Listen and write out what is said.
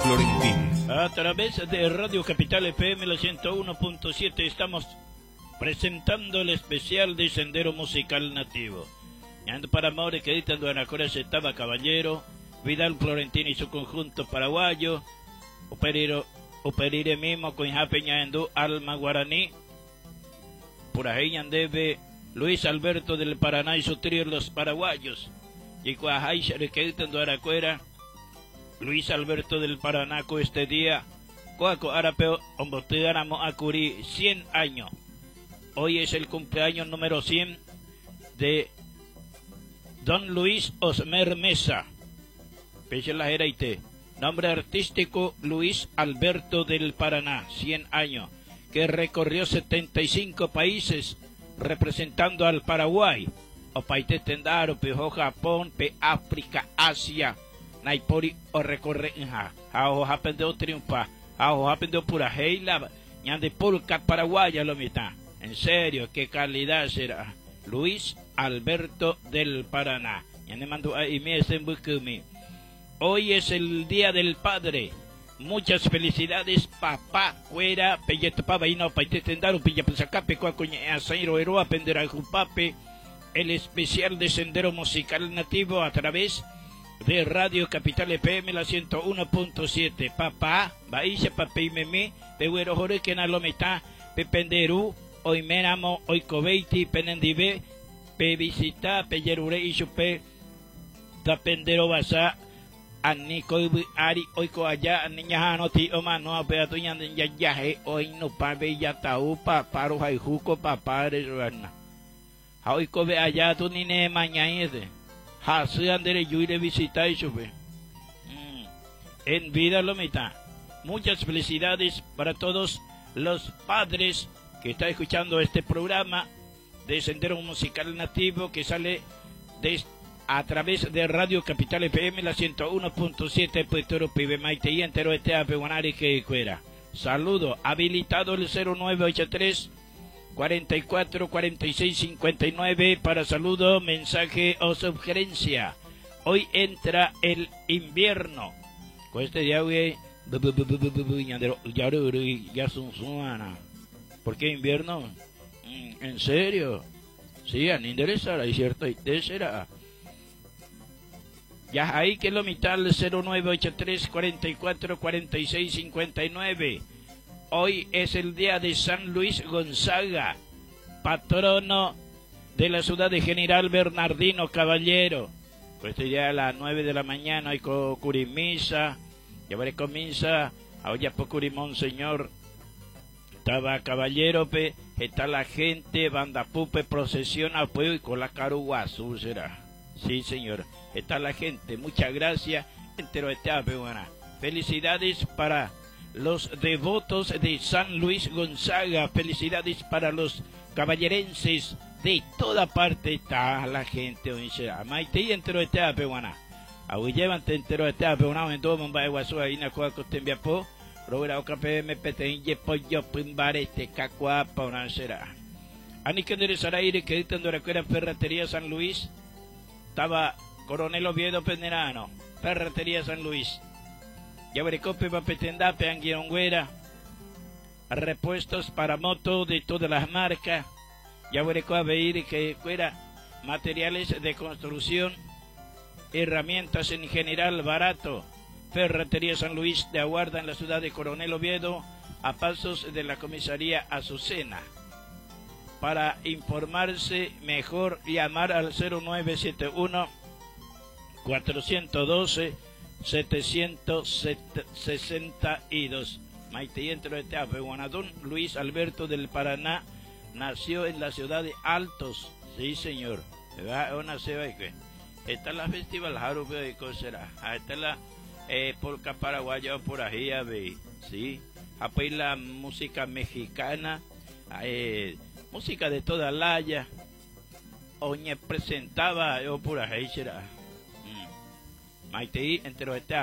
Florentín. A través de Radio Capital FM, la 101.7, estamos presentando el especial de Sendero Musical Nativo. Ñando para More que editan Duanacora se estaba Caballero, Vidal Florentín y su conjunto paraguayo, Operiro, Operire mismo con Ñaendú, Alma Guaraní, por ahí ñandebe Luis Alberto del Paraná y su trío Los Paraguayos, y Duaracuera, Luis Alberto del Paraná este día, Coaco Arapeo, Ombotégáramo Acurí, 100 años. Hoy es el cumpleaños número 100 de Don Luis Osmer Mesa. Peche la Jeraite. Nombre artístico Luis Alberto del Paraná, 100 años, que recorrió 75 países representando al Paraguay. O paite tendaro, pe Japón, pe África, Asia, Naipori o recorre ja. Ajo japendeo triunfa, ajo japendeo pura heila, ñande polka paraguaya lo mitad. En serio, qué calidad será. Luis Alberto del Paraná. Ñande mando ahí mi Hoy es el Día del Padre. Muchas felicidades, papá, cuera, pelleto pava y no paite tendaru, pilla pesacape, cuacoña, asairo, eroa, pendera, jupape, el especial de Sendero Musical Nativo a través de Radio Capital FM, la 101.7. Papá, baisha, papi, meme, pehuero, jore, que na lo mitad, pependeru, hoy menamo, hoy cobeiti, penendive, pe visita, pe yerure, y supe, tapendero basa, aniko yvy ári oiko aja ani ñaha'arõti omano upéva tuñande jajahe oinupã jatau papa rohayhu ko papa resuana ha oikove aja tu ni nemañáiete hasy nderejúi revisita ichupe. En vida lo mitad. Muchas felicidades para todos los padres que están escuchando este programa de Sendero Musical Nativo que sale de a través de Radio Capital FM, la 101.7, Puerto Pibe Maite y entero este Guanari que cuera. Saludo, habilitado el 0983 44 46 59 para saludo, mensaje o sugerencia. Hoy entra el invierno. Con este día, ya ¿Por qué invierno? ¿En serio? Sí, a interesará, y cierto, y será. Ya ahí que lo mitad 0983 44 46 59. Hoy es el día de San Luis Gonzaga, patrono de la ciudad de General Bernardino Caballero. Pues este día a las 9 de la mañana hay curimisa, ya veré comienza, ahora Monseñor estaba Caballero, pe, está la gente, banda pupe, procesión, apoyo y con la caruguazú será. Sí, señor. Está la gente. Muchas gracias. Entero este buena. Felicidades para los devotos de San Luis Gonzaga. Felicidades para los caballerenses de toda parte. Está la gente. Maite y entero este buena. Aguyevante entero este buena. En todo mundo guasu ahí na cual cotembiapo. Robera OKPM PTN Yepoyo Pimbarete Cacuapa una será. Ani que aire que editando la Ferretería San Luis. Estaba Coronel Oviedo Penerano, Ferretería San Luis. Yabricope, Papetendape, Anguironguera. Repuestos para moto de todas las marcas. Yabrico Aveir que fuera materiales de construcción, herramientas en general barato. Ferretería San Luis de Aguarda en la ciudad de Coronel Oviedo, a pasos de la comisaría Azucena. Para informarse mejor, llamar al 0971 412 762. Maite y entro de Guanadón, Luis Alberto del Paraná nació en la ciudad de Altos. Sí, señor. Está la festival Harupe de será. Está la polka paraguaya por ahí, sí. Apoy la música mexicana, música de toda laya. Oñe presentaba yo por ahí será. Maite entero este.